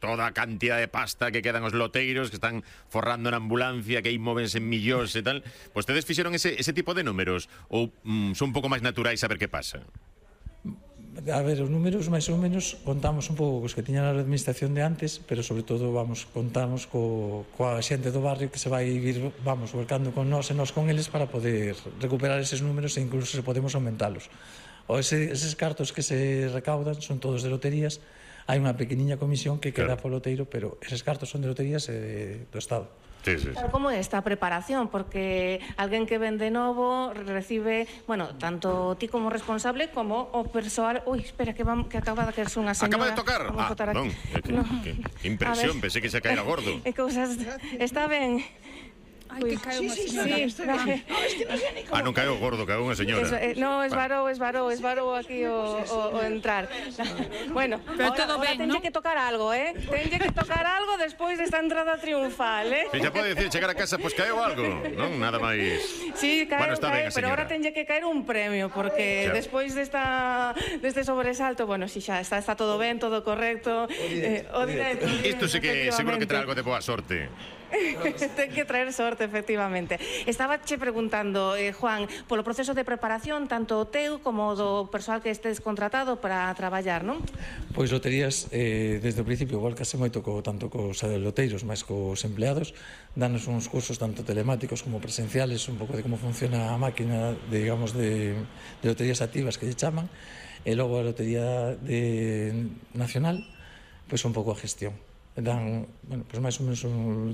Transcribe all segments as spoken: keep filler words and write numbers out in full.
toda a cantidad de pasta que quedan os loteiros, que están forrando na ambulancia, que aí móvense en millóns e tal. Vostedes fixeron ese, ese tipo de números ou mm, son un pouco máis naturais a ver que pasa? A ver, os números máis ou menos contamos un pouco cos que tiñan a administración de antes, pero sobre todo vamos contamos co, coa xente do barrio que se vai vir, vamos, volcando con nós e nós con eles para poder recuperar eses números e incluso se podemos aumentalos. O ese, eses cartos que se recaudan son todos de loterías, hai unha pequeniña comisión que queda claro. po loteiro, pero eses cartos son de loterías e do Estado. Sí, sí, sí. Claro, como é esta preparación? Porque alguén que vende novo recibe, bueno, tanto ti como responsable como o persoal. Ui, espera, que, vam, que acaba de caerse unha señora. Acaba de tocar? Ah, non, que, no. que, que impresión, pensé que se caera gordo. E cousas, está ben. Ai, que cae unha sí, señora. sí, sí, no, no, es que non sei ni como. Ah, non caeu gordo, caeu unha señora. Eso, eh, no, esvarou, esvarou, esvarou aquí o, o, o entrar. Bueno, pero ahora, todo ahora ben, tenlle ¿no? que tocar algo, eh? Tenlle que tocar algo despois desta entrada triunfal, eh? Se xa pode dicir chegar a casa, pois pues, caeu algo, non? Nada máis. Sí, caeu, bueno, está caeu, ben, pero ahora tenlle que caer un premio, porque xa. despois desta, deste sobresalto, bueno, si xa está, está todo ben, todo correcto. O directo. Eh, Isto sí que seguro que trae algo de boa sorte. Ten que traer sorte, efectivamente. Estaba che preguntando, eh, Juan, polo proceso de preparación, tanto o teu como do persoal que estés contratado para traballar, non? Pois loterías, eh, desde o principio, igual que se moito co, tanto cos loteiros, máis cos empleados, danos uns cursos tanto telemáticos como presenciales, un pouco de como funciona a máquina, de, digamos, de, de loterías activas que lle chaman, e logo a lotería de nacional, pois un pouco a gestión. Dan, bueno, pues máis ou menos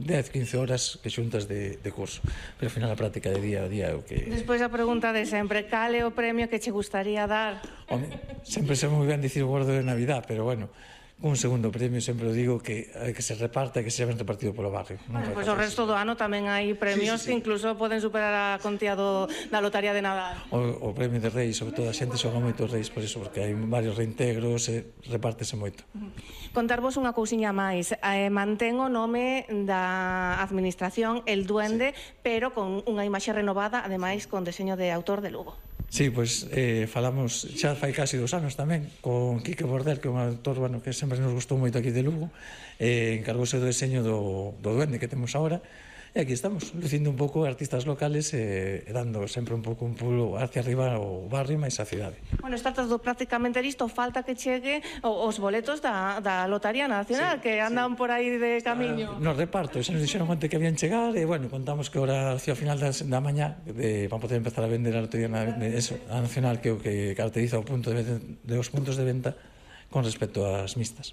dez, quince horas que xuntas de, de curso, pero ao final a práctica de día a día é o que... Despois a pregunta de sempre, cal é o premio que che gustaría dar? Home, sempre se moi ben dicir o gordo de Navidad, pero bueno, un segundo premio sempre o digo que que se reparta, que se ben repartido polo barrio. Bueno, pois pues o resto do ano tamén hai premios sí, sí, sí. que incluso poden superar a contía do, da lotaría de Nadal. O, o premio de Reis, sobre todo a xente xoga moito Reis por iso, porque hai varios reintegros e repártese moito. Contarvos unha cousiña máis, eh, mantén o nome da administración El Duende, sí. pero con unha imaxe renovada, ademais con deseño de autor de Lugo. Sí, pois eh, falamos xa fai casi dos anos tamén con Quique Bordel, que é un autor, bueno, que sempre nos gustou moito aquí de Lugo, eh, encargouse do deseño do, do Duende que temos agora, e aquí estamos, lucindo un pouco artistas locales e, e dando sempre un pouco un pulo hacia arriba o barrio máis a cidade. Bueno, está todo prácticamente listo, falta que chegue os boletos da, da Lotaría Nacional, sí, que andan sí. por aí de camiño. No reparto, xa nos dixeron antes que habían chegar, e bueno, contamos que ahora hacia o final da, da mañá de, para poder empezar a vender a Lotería de, eso, a Nacional, que é o que caracteriza o punto de, de os puntos de venta con respecto ás mixtas.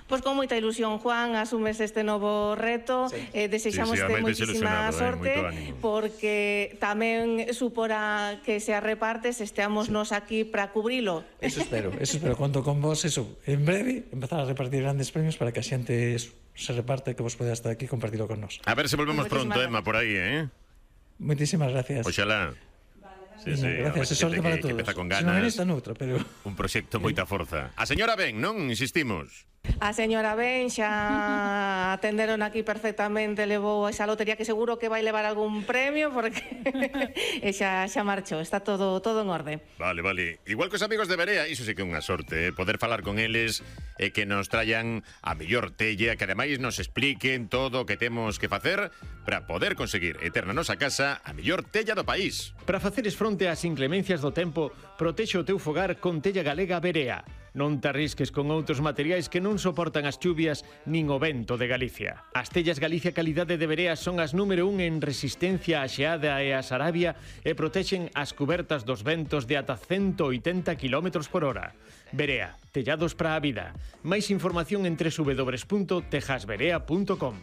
Pois con moita ilusión, Juan, asumes este novo reto, sí. eh, desexamos sí, sí, moitísima sorte, eh, porque tamén supora que se repartes, esteamos sí. nos aquí para cubrilo. Eso espero, eso espero, conto con vos, eso, en breve, empezar a repartir grandes premios para que a xente se reparte, que vos poida estar aquí e compartirlo con nós. A ver se volvemos pronto, Emma, por aí, eh? Moitísimas gracias. Oxalá. Sí, sí, gracias, se sorte para todos. Que con ganas, se non en esta noutra, pero... Un proxecto moita forza. A señora ben, non? Insistimos. A señora ben xa atenderon aquí perfectamente, levou esa lotería que seguro que vai levar algún premio porque e xa, xa marchou, está todo todo en orde. Vale, vale. Igual que os amigos de Berea, iso sí que é unha sorte, eh? Poder falar con eles e que nos trayan a mellor tella, que ademais nos expliquen todo o que temos que facer para poder conseguir e ter na nosa casa a mellor tella do país. Para faceres fronte ás inclemencias do tempo, protexe o teu fogar con tella galega Berea. Non te arrisques con outros materiais que non soportan as chuvias nin o vento de Galicia. As tellas Galicia Calidade de Berea son as número un en resistencia á xeada e á sarabia e protexen as cubertas dos ventos de ata ciento oitenta kilómetros por hora. Berea, tellados para a vida. Máis información en doble u doble u doble u punto tejas berea punto com.